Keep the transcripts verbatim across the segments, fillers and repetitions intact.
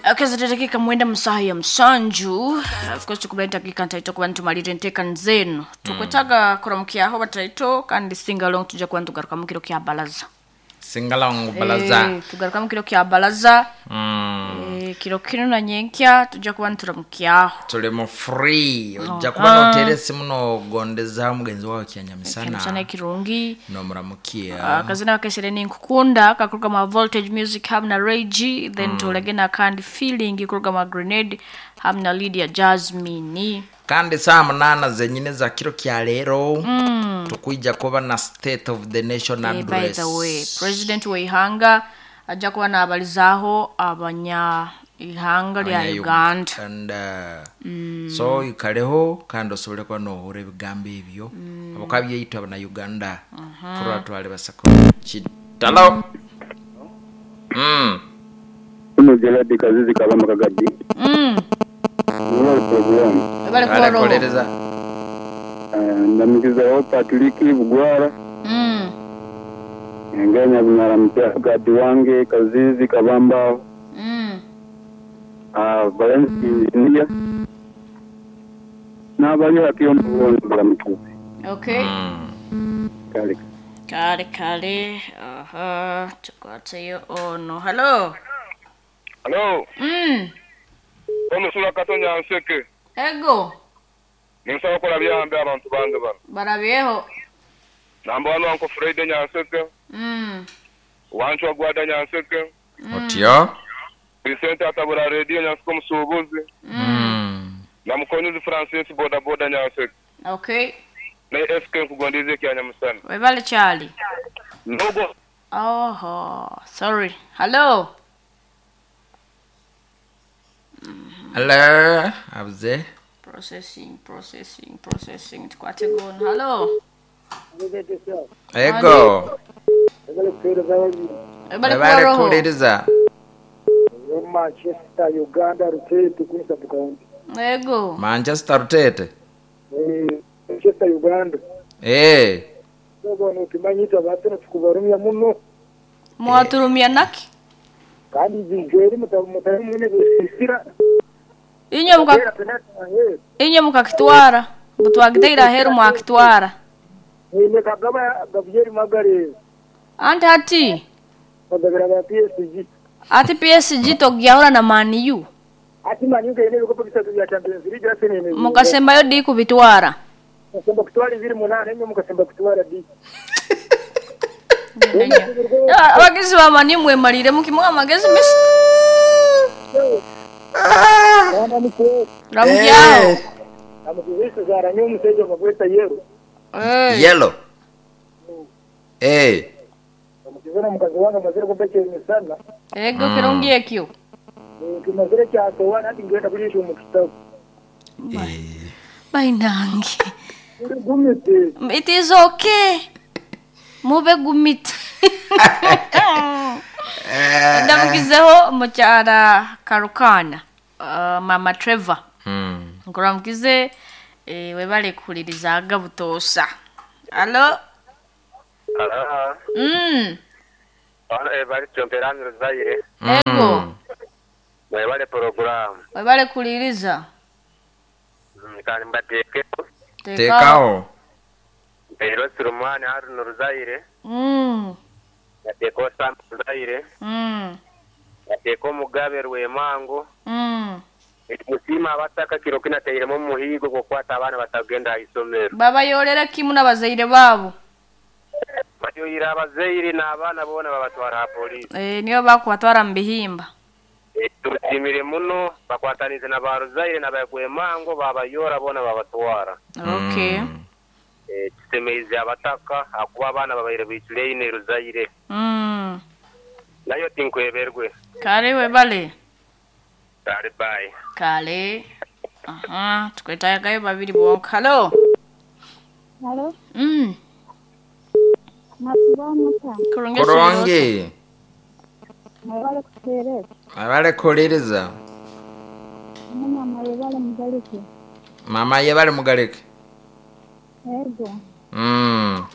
Akazita dakika mwenda musaha ya musanju. Of course tukubali dakika ntaito kuba ntumalire enteekani zenu. Tukwetaga kuramukyaho bataito kandi singalong tujja kuba ntugaruka mu kiro kya balaza. Singalong balaza. Eh, tugaruka mu kiro kya balaza. Mm. Eh, kiro kino na nyenkya tujja kuba nturamukyaho. Tuli mu free ojja kuba noteera esimu nogondeza mugenzi wawe Kyamisana kyanyamisana ekirungi. nomuramukia. Akazina bakesere ninkukunda kakuruga mu Voltage Music hamwe na Ray G, then tulege na kandi feeling kuruga mu Grenade hamwe na Lydia Jasmine. Kandi saa munana zenyine za kiro kya leero tukwija kuba na state of the nation Eh, by address. the way, president w'eihanga ajja kuba naabalizaaho abanya ihanga lya Uganda. Uganda. So ikaleho kandi osobole kuba nohura ebigambo ebyo abuka byaitu abana Uganda kurora twali basako kitalo. Mm. Uno Gerard Kazizi Kabamba Kagadi. Mm. Niwe program. Bale kubaroho. Alekolereza. Ndamikizaho Patrick Bugwara. Mm. Ngenya bunyara mutya Gadi wange Kazizi Kabamba. Mm. Ah, Valence Engineer. N'abali bakiyo mubona baramukize. Okay. Mm. Kale. Kale kale. Aha, tukwatseyo ono. Hello. Hello, Mm. omusula Katonya Nseke. Ego. Ninsaba kola byambe abantu bange bano. Barabyeho. Namba wano Uncle Fred Nyanseke, Mm. Wanchwa Gwada Nyanseke, Otyo. Vicente Atabura Radio Nyanseke omusuubuzi, Mm. na Mukonyezi Francis boda boda Nyanseke. Okay. Ne S K nkugondize ekyanyamusana. Webale Charlie. Nogo Oho, sorry. Hello. Hello. Abuze. Processing, processing, processing. Tukwate gono. Hello. Ego. Webale Webale kubaroho. kuwuliriza. Manchester Uganda Rutete kuni County. Ego. Manchester Rutete. Eh, Manchester Uganda. Eh. Sobono ukimanyita batene tukubarumya muno Mwaturumia naki? kandi zijeri mutari mwene gusisira. Inye muka inye mukakitwara. Butwagiteira heru mwakitwara. Ile kagaba Gabriel Magare Anti ati bagabira ba P S G. ati P S G togyahura na Man U. Ati Man U kaine bikopo bisatu bya Champions League ase nene. Mukasembayo di kubitwara. Mukasemba kutwara ibiri munane enye mukasemba kutwara di. Abagizi ba Man U mwemalire mukimuha amagezi misi. Mwana ni Ramukyaho. Amukizisa zaranye omusajja bagweta yero. Eh. Yellow. Eh. Amukizana mukazi wange amazire kumpekera emisana. Ego kirungi ekyo. Kimazire kyasowa nati ngenda kulisha omu kitabu. Eh. Bainange. Gumite. It is okay. Mube gumite. Ndamukizeho mukyala Karukana. Uh, Mama Trevor. Mm. Nkuramukize eh, webale kuhuliriza aga butoosa. Hello. Aha. Mm. Ono ebali Chomperani Ruzaire. Ego. Mwebale program. Webale kuhuliriza. Kandi mbateekeko. Tekawo. Mpero Surumani Haruna Ruzaire. Mm. Yateeko Sam Ruzaire. Mm. Yateeko Mugabe Rwemango. Mm. Musiima abataka kiro kinateiremu omuhigo gwokukwata abaana batagenda aha isomero. Babayolera kimu n'abazaire baabo. Bayoyire abazaire n'abaana boona babatwara aha poliisi. Eh, niyo bakubatwara mu bihimba. Eh, Tusiimire muno bakwatanize na ba Ruzaire na ba Rwemango babayora boona babatwara. Okay. Mm. Eh, kisemeize abataka akuba abaana babaire biicureine Ruzaire. Mm. Nayo tinkweberwe. Kale webale. Kale bye. Kale. Aha, tukwetayagayo babiri bonka. Hello. Halo, Mm. masiba muta. Kurungi. Kurungi. Mwebale kuteereza. Abale kuwuliriza. Mama yebale mugalike. Mama yebale mugalike. Ego. Mm.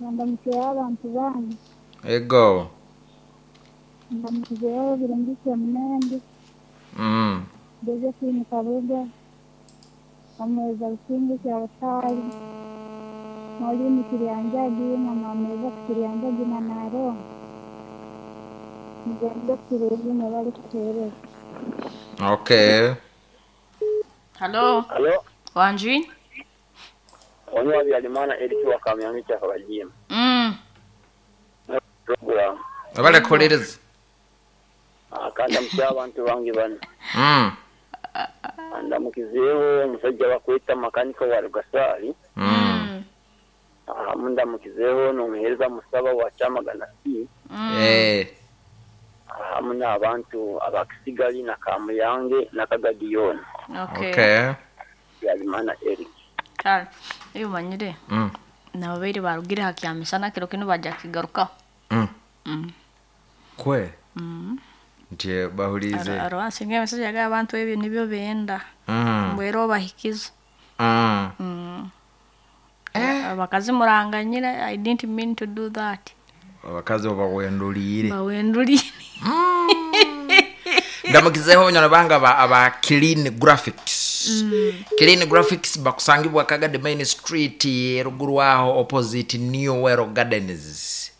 Ndamukiye abantu banyu. Ego. Ndamukizeyo birungi munende. Mm. Josephine Kabuga, Omweza Businge Kyabasali, Maureen Kiryanjagi na Mama Kiryanjagi na Naro. Mugende kirungi mwebale kutuheereza. Okay. Hello. Halo, Wanji? onyo Habyarimana Eric wa Kamyamicha Kabajima. Mm. Program. Abale kuhuliriza. Akanda mukya abantu bange bano. Mm. Ndamukizeewo omusajja bakweta makanika wa Rugasaali. Mm. Ahamu ndamukizeewo n'omuheereza Musaba wa Kyamagana C. Eh. Ahamu n'abantu abakisigali na Kamuyange na Kagadiyoni. Okay. Okay. Habyarimana Eric. Kale. Iyo manyire. Mm. Nabo baire barugire hakyamisana kiro kino bajja kigarukaho. Mm. Mm. Kwe. Mm. Nti bahulize. Arwansinga emisajja g'abantu ebyo nibyo benda. Mm. Mbwera obahikiza. Mm. Mm. Abakazi muranganyira I didn't mean to do that. Abakazi obawendulire. Bawendulire. Ndamukizeho banywana bange aba, aba Clean Graphics. Mm. Clean Graphics bakusangibwa Kagadi Main Street eruguru aho opposite New Wero Gardens.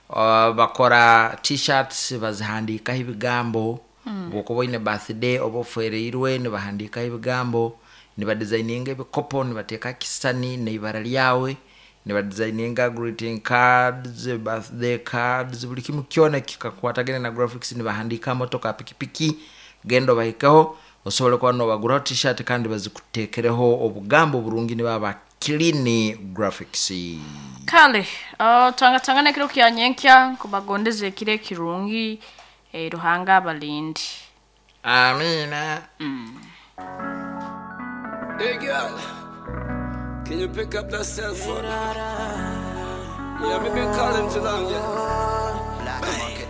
Uh, bakora t-shirts bazihandikaho ebigambo mm. bwokuba oine birthday oba ofereirwe nibahandikaho ebigambo nibadesigninga ebikopo nibateeka kisani neibara ryawe nibadesigninga greeting cards birthday cards buli kimu kyona kikakwatagana na graphics nibahandika motoka pikipiki genda obahikeho osobole kuba nobaguraho t-shirt kandi bazikutekereho obugambo burungi nibaba clean graphics. Kale, uh, tangatangana ekiro kya nyenkya nkubagondeze ekiro ekirungi eh, Ruhanga abalindi. Amina. Hey girl, can you pick up that cell phone? Yeah, me been calling too long, yeah. Black market.